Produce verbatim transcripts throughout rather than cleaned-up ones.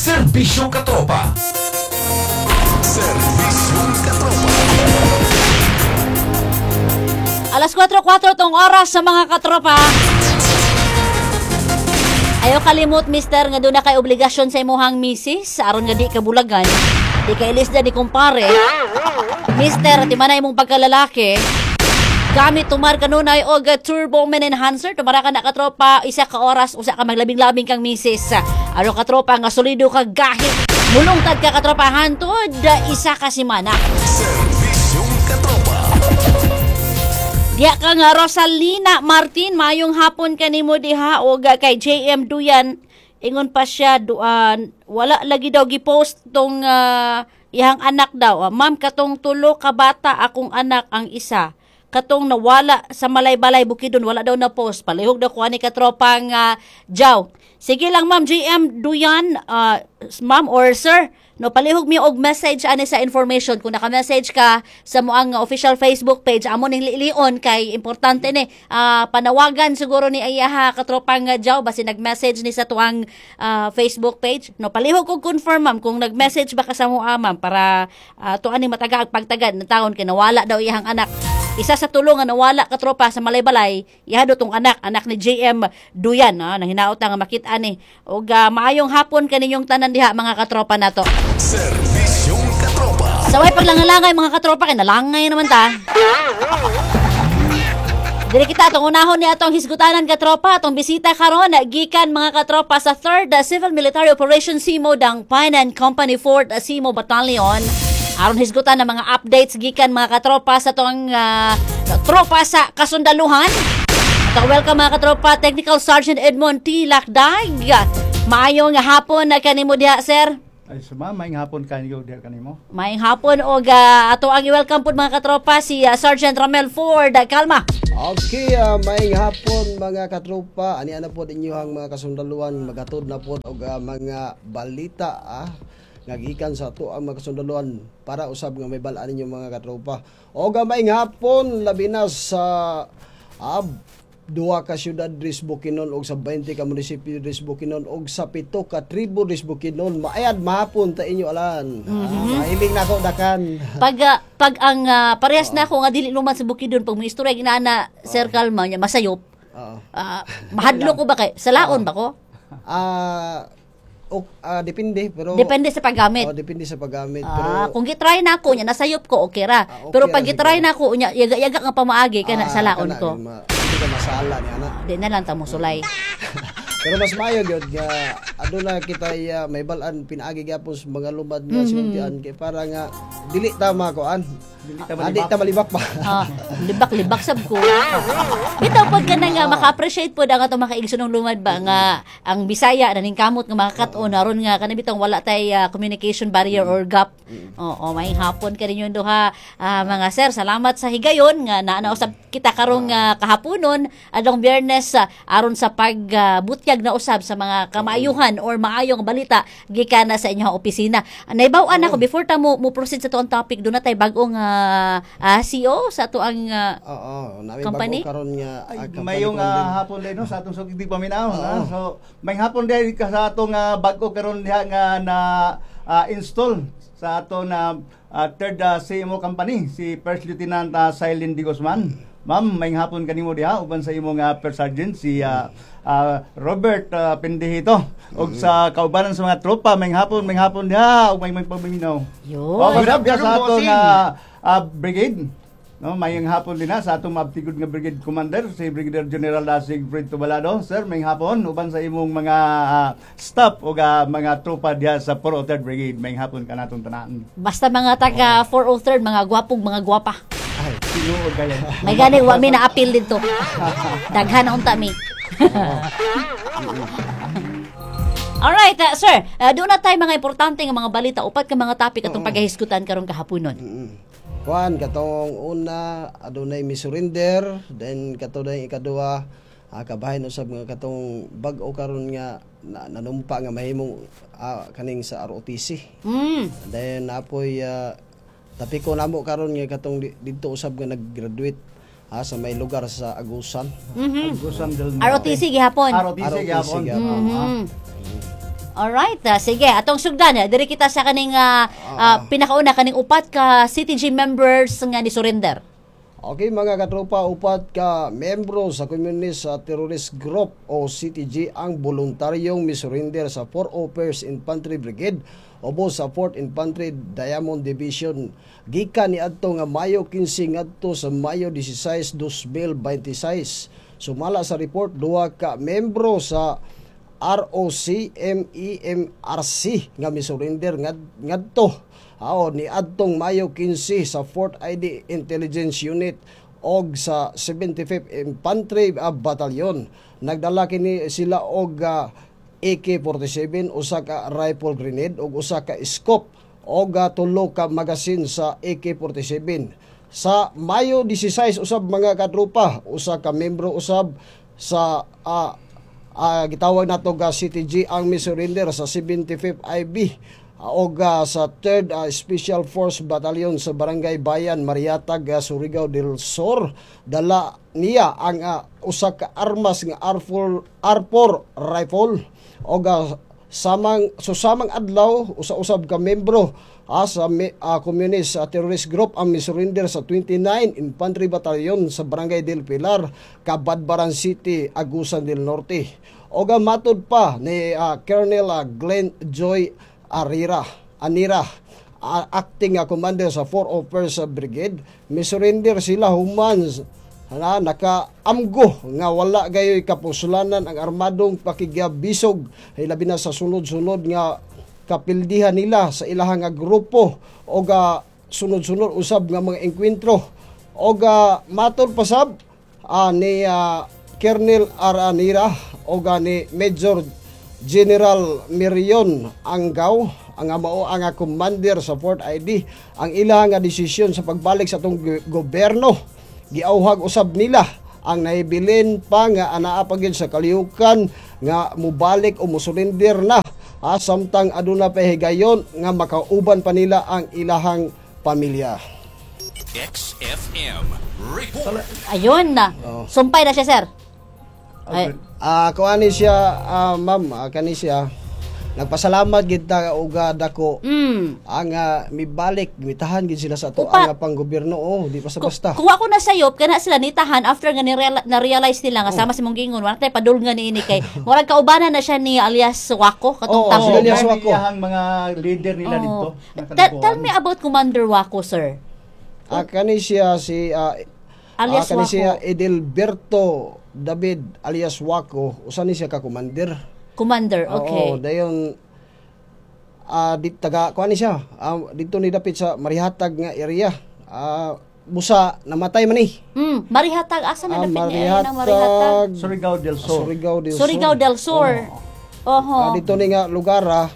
Serbisyong Katropa. Serbisyong Katropa. Alas kwatro kwatro tong oras sa mga katropa. Ayaw kalimot, mister, nga duna kay obligasyon sa imuhang misis aron nga di ka bulagan. Di ka ilisda ni kumpare. Mister, timanay imong pagkalalaki. Gamit tumar kanunay og Turbo Man Enhancer, tumara ka na, katropa, isa ka oras usa ka maglabing-labing kang misis. Aron, katropa, nga solido ka gahit. Mulungtad ka, katropa, hantod isa ka semana. Serbisyong Katropa. Diya ka nga Rosalina Martin, mayong hapon kanimo diha og kay J M Duyan. Ingon pa siya duan wala lagi daw gipost tong ah, iyang anak daw. Ah, ma'am, katong tulo ka bata akong anak ang isa. Katong nawala sa Malaybalay, Bukidnon, wala daw na post. Palihog daw kuha ni katropang uh, Jaw. Sige lang, ma'am J M Duyan, ah, ma'am or sir, no, palihog mi og message ani sa information. Kung naka-message ka sa moang official Facebook page, amo ning lilion kay importante ni. Ah, panawagan siguro ni ayaha katropang uh, Jaw basi nag-message ni sa tuang ah, Facebook page. No, palihog kog confirm, ma'am, kung nag-message ba ka sa moa, ma'am, para uh, tuan ni mataga ang pagtagad ng taon kay nawala daw iyang anak. Isa sa tulo nga nawala, katropa, sa Malaybalay, iha tong anak, anak ni J M Duyan, ah, nang hinaot nga makita ni. Og ah, maayong hapon kaninyong tanan diha, mga katropa nato. Serbisyong Katropa. Saway paglangalangay, mga katropa, kay nalangay naman ta. Dili kita atong unahon ni atong hisgutanan, katropa, atong bisita karon gikan, mga katropa, sa third Civil Military Operation C M O Dangpanan Company fourth C M O Battalion. Aron hisgutan ang mga updates gikan, mga katropa, sa atong ah, tropa sa kasundaluhan. At welcome, mga katropa, Technical Sergeant Edmond T. Lakdag. Maayong hapon na kanimo diha, sir. Ay, suma, maayong hapon kanyo diha kanimo. Maayong hapon og ah, ato ang i-welcome pud, mga katropa, si ah, Sergeant Ramel Ford. Kalma. Okay, uh, maayong hapon, mga katropa. Ani ana pod inyohang mga kasundaluhan, magatod na pod og ah, mga balita ah nga gikan sa ato ang mga kasundaluhan para usab nga may balaan ninyo, mga katropa. Og uh, maayong hapon labi na sa ah, duha ka syudad diri sa Bukidnon og sa twenty ka munisipyo diri sa Bukidnon og sa pito ka tribo diri sa Bukidnon. Maayad mahapon ta inyo alan. Ah, mahiling na ako dakan. Pag ah, pag ang ah, parehas na ako nga dili luman sa Bukidnon, pag mo istorya ginana, Sir Kalma, nya masayop. Oo. Ah, mahadlo ko ba kay salaon ba ko? Ah, ok, ah, depende pero Depende sa paggamit. Oh, depende sa paggamit pero Ah, kung gitry na ako nya nasayop ko, okay ra. Ah, okay pero ra pag gitry siguro. na ako nya yaga-yaga nga pamaagi kana Ah, salaon kana, ko. Ma, hindi ka masala ni ana. Di na lang ta mo sulay. Pero mas maayo gyud nga aduna kita uh, may balaan pinaagi gyapon sa mga lumad nga mm -hmm. sinultian kay para nga dili ta makuan. Dili ta Ah, di malibak. ta malibak pa. Ah, libak-libak sab ko. Bitaw pod ka na nga maka-appreciate pod ang atong mga kaigsoonong lumad ba nga ang Bisaya na ning kamot nga makakat-on aron nga kana bitong wala tay ah, communication barrier or gap. Oo, may hapon ka ninyo duha, ah, mga sir. Salamat sa higayon nga naa usab kita karong ah, kahaponon adlong Biyernes ah, aron sa pagbutyag na usab sa mga kamaayuhan or maayong balita gikan na sa inyong opisina. Naibaw-an ako before ta mo, mo proceed sa tuang topic, duna tay bagong ah, ah, C O sa tuang ah, Oo, nami company? bago karon nga Ay, ah, company mayong commander. ah, hapon din no sa atong sugid paminaw ha. So may hapon din ka sa atong ah, bag-o karon diha nga na ah, install sa ato na ah, third ah, C M O company, si First Lieutenant uh, Silent D. Guzman. Ma'am, may hapon kanimo diha uban sa imong ah, First Sergeant si ah, ah, Robert uh, Pendihito ug sa kaubanan sa mga tropa, may hapon, may hapon diha ug may may paminaw. Yun. Oh, Good diha sa afternoon, atong bossing. ah, ah, brigade. No, mayong hapon din na sa atong maabtigod nga brigade commander si Brigadier General Siegfried Tubalado. Sir, mayong hapon uban sa imong mga ah, staff o mga tropa diha sa four oh third Brigade. Mayong hapon kanatong tanan. Basta mga taga four oh third, mga gwapong mga gwapa. Ay, tinuod kayo. May gani wa mi na appeal dito. Daghan na unta mi. Alright, uh, sir. Uh, doon na tayo mga importante nga mga balita, upat ka mga topic atong paghahisgutan karong kahaponon. Mm. Kuan katong una, adunay mi-surrender, then kato day ikaduha, ah, kabahin usab nga katong bag-o karon nga na, nanumpa nga mahimong ah, kaning sa R O T C. Mm. Then apoy uh, tapiko namo karon nga katong di- didto usab nga nag-graduate ah, sa may lugar sa Agusan. Mhm. Agusan del Norte. R O T C gihapon. R O T C gihapon. R O T C gihapon. Mhm. Alright, ah, sige, atong sugdan, eh, diri kita sa kaning ah, ah, pinakauna kaning upat ka C T G members nga ni surrender. Okay, mga katropa, upat ka membro sa Communist sa Terrorist Group o C T G ang voluntaryong misurrender sa four oh first Infantry Brigade ubo sa fourth Infantry Diamond Division gikan ni adto nga Mayo kinse ngadto sa Mayo sixteen, twenty twenty-six. Sumala sa report, duha ka membro sa R O C M E M R C nga misurrender ngad ngadto Ao ni adtong Mayo kinse sa fourth I D Intelligence Unit og sa seventy-fifth Infantry ah, Battalion. Nagdala kini sila og ah, A K forty-seven, usa ka rifle grenade ug usa ka scope og ah, tulo ka magazine sa A K forty-seven. Sa Mayo sixteen usab, mga katropa, usa ka membro usab sa ah, ah, gitawag nato ga C T G ang misurrender sa seventy-fifth I B og ah, sa third ah, Special Force Battalion sa Barangay Bayan, Marihatag, ah, Surigao del Sur. Dala niya ang ah, usa ka armas nga R four R four rifle og ah, samang susamang adlaw, usa-usab ka membro ah, sa me- ah, Communist ah, Terrorist Group ang misurrender sa twenty-nine Infantry Battalion sa Barangay del Pilar, Cabadbaran City, Agusan del Norte. Og ang matod pa ni ah, Colonel ah, Glenn Joy Arira Anira, ah, acting ah, commander sa four oh first Brigade, misurrender sila human na nakaamgo nga wala gayoy kapuslanan ang armadong pakigabisog, labi na sa sunod-sunod nga kapildihan nila sa ilahang nga grupo o ga sunod-sunod usab nga mga engkwentro. Og uh, matod pasab ah, ni ah, Colonel Aranira o ga ni Major General Mirion Anggaw, ang mao ang commander sa fourth I D, ang ilang nga desisyon sa pagbalik sa atong go- gobyerno giauhag usab nila ang nahibilin pa nga anaa pa gyud sa kalihukan nga mubalik o musurrender na ah, samtang aduna pa higayon nga makauban pa nila ang ilahang pamilya. X F M Report. Ayun na. Sumpay na siya, sir. Ay, Ah, kuan ni siya, ah, ma'am, ah, kani siya. Nagpasalamat gid ta og ah, dako mm. ang ah, mibalik, mitahan gid sila sa ato Upa. ang panggobyerno, oh, di pa sa basta. Kuha ko na sayop kana sila nitahan after nga ni- na-realize nila nga Oh. sama si mong gingon wala tay padulngan niini kay murag kaubanan na siya ni alias Wako katong Oo, tao. si alias Dahil Wako. iyahang mga leader nila Oo. dito. Tell, tell me about Commander Wako, sir. Ah, kani siya si ah, Alias ah, kani Wako. siya Edelberto David alias Wako, usa ni siya ka commander. Commander, okay. Oo, dayon ah di taga kuan ni siya. Ah, dito ni dapit sa Marihatag nga area. Ah, busa namatay man ni. Mm, Marihatag, asa man Ah, dapit niya area ng Marihatag? Surigao del Sur. Surigao del Sur. Surigao del Sur. Oho. Ah, dito ni nga lugar ah.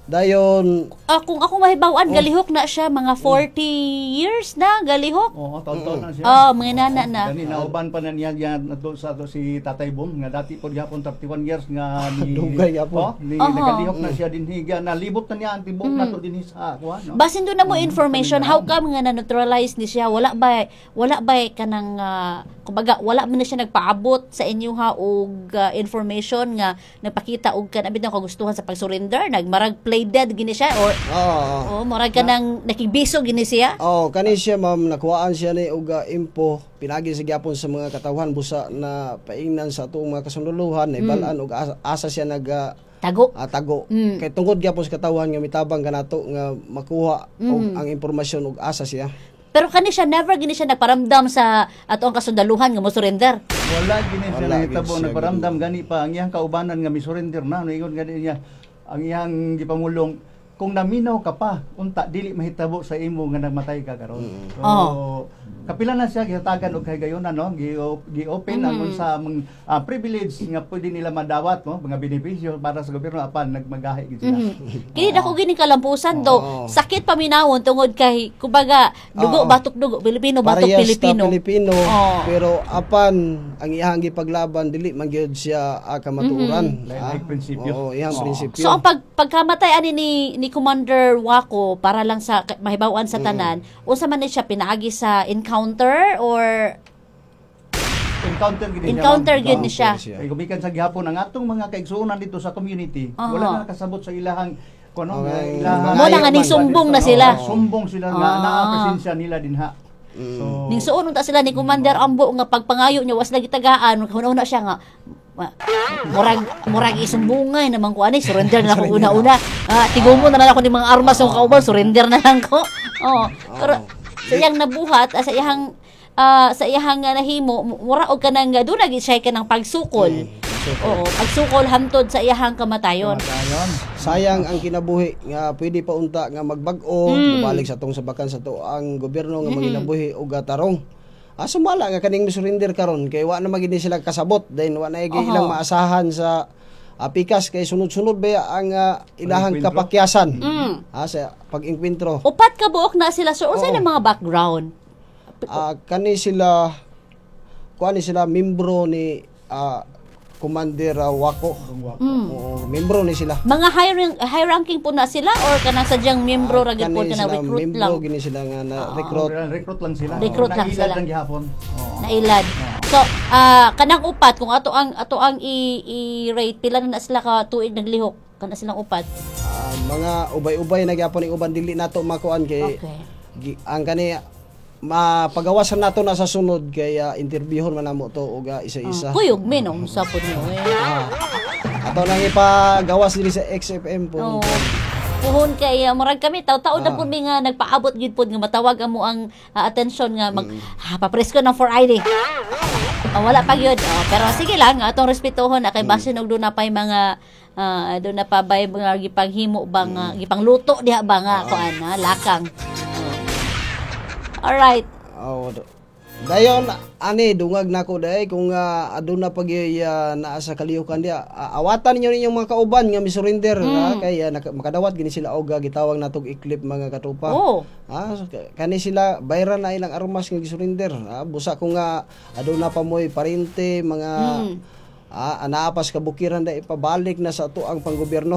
Dayon Ah, kung ako mahibaw-an, Oh. galihok na siya mga forty years na galihok. Oo, taon-taon na siya. Oh, mga nana na. Gani nauban pa na niya yan doon sa ato si Tatay Bong nga dati po gihapon thirty-one years nga ni Dugay gihapon. Oh, ni Oho. nagalihok na siya dinhi ga nalibot na niya ang tibok na to dinhi sa kuan, no. Basin doon na mo information, how come nga na-neutralize ni siya? Wala ba wala ba kanang ah, kumbaga wala man na siya nagpaabot sa inyo ha og ah, information nga nagpakita og kanang bitaw kagustuhan sa pag-surrender, nagmarag play dead gini siya or Oo. oh, murag kanang nakigbiso gini siya? Oh, kani siya, ma'am, nakuhaan siya ni og ah, info pinagi sa gyapon sa mga katawhan busa na paingnan sa atong mga kasundalohan na ibalaan og asa, asa siya nag ah, Tago. ah, tago. Mm. Kay tungod gyapon sa katawhan nga mitabang kanato nga makuha og ang impormasyon og asa siya. Pero kani siya never gini siya nagparamdam sa atong kasundaluhan nga mo surrender. Wala gini siya Wala nahitabo gid siya. nagparamdam, gani pa ang iyang kaubanan nga misurrender na, ingon gani niya ang iyang gipamulong, "Kung naminaw ka pa unta dili mahitabo sa imo nga namatay ka karon." So Oh. kapila na siya gihatagan og kahigayonan, no, gi- gi-open ang unsa mang ah, privilege nga pwede nila madawat, no, mga benepisyo para sa gobyerno, apan nagmagahi gid sila. Mhm. Kini dako gini kalampusan do. Oo. Sakit paminawon tungod kay kumbaga dugo Oo. batok dugo Pilipino batok Parehas ta Pilipino. Pilipino, Oo. pero apan ang iyang gipaglaban dili man gyud siya ah, kamatuoran. Lain mm prinsipyo. Oo, iyang prinsipyo. So ang pag pagkamatay ani ni ni Commander Wako, para lang sa mahibaw-an sa tanan, unsa man ni siya pinaagi sa encounter or Encounter gid niya, Encounter ma'am. gyud ni siya. Encounter siya. Kay gumikan sa gihapon ang atong mga kaigsuonan dito sa community, Aha. wala na nakasabot sa ilahang kuno Okay. ilahang Mo na nga ning sumbong na sila. Oo, sumbong sila nga Ah. naa presensya nila dinha. So Ning suon unta sila ni Commander Ambo nga pagpangayo niya was lagi tagaan, huna-huna siya nga ma- murag murag isumbungay naman ko ani, surrender na ako una-una. Ah, tigumo na lang ako ni mga armas ng kauban, surrender na lang ko. Oh, pero sa iyang nabuhat, ah, sa iyang ah, sa iyang nga nahimo, mura og kanang doon lagi siya kanang pagsukol. Oo, pagsukol hantod sa iyahang kamatayon. kamatayon. Sayang ang kinabuhi nga pwede pa unta nga magbag-o, Mm. mobalik sa tong sabakan sa to ang gobyerno nga manginabuhi og tarong. Ah, sumala nga kaning surrender karon kay wa na magini sila kasabot, then wa na Oho. ilang maasahan sa ah, pikas kay sunod-sunod ba ang ah, ilahang Pag-engkwentro? kapakyasan. Mm. Ah, sa pag-engkwentro. Upat ka buok na sila, sir. Unsa Oo. na mga background? Ah, kani sila, kuan ni sila, membro ni ah, Commander ah, Wako. Mm. Oo, membro ni sila. Mga high rank, high ranking po na sila or kanang sadyang membro ra gyud po Kani na sila, recruit membro lang? gini sila nga na recruit. Recruit lang sila. Recruit lang Nailad sila. lang gihapon. Oo. Nailad. So, ah kanang upat, kung ato ang ato ang i- i-rate, pila na na sila ka tuig naglihok kana silang upat? Ah, mga ubay-ubay na gyapon ning uban, dili nato makuan kay Okay. gi- ang kani mapagawasan nato na sa sunod kay ah, interviewon man namo to og ah, isa-isa. Kuyog minong sa pod niyo eh. Ah, ato nang ipagawas diri sa X F M po. Oo. Puhon kay uh, murag kami taw-taon na Ah. pud mi nga nagpaabot gyud pod nga matawag amo ang ah, atensyon nga mag ha, papresko ng four I D. Oh, wala pa gyud. Oh, pero sige lang, atong respetuhon na kay basin og doon na pa'y mga ah, doon na pa bay mga gipanghimo ba nga gipangluto diha ba nga kuan ha, lakang. Oh. Alright. Oh, do- Dayon ani dungag nako day kung uh, aduna pag uh, naa sa kalihukan diya, ah, awatan ninyo ninyong mga kauban nga misurrender Mm. ah, kay ah, naka- makadawat gini sila og ah, gitawag natog eclipse, mga katropa. Oh. Ah, so, ka- kani sila bayran na ilang armas nga gisurrender. Ah, busa kung nga aduna pa mo'y parente mga Mm. ah, anaa pa sa kabukiran da ipabalik na sa ato ang panggobyerno.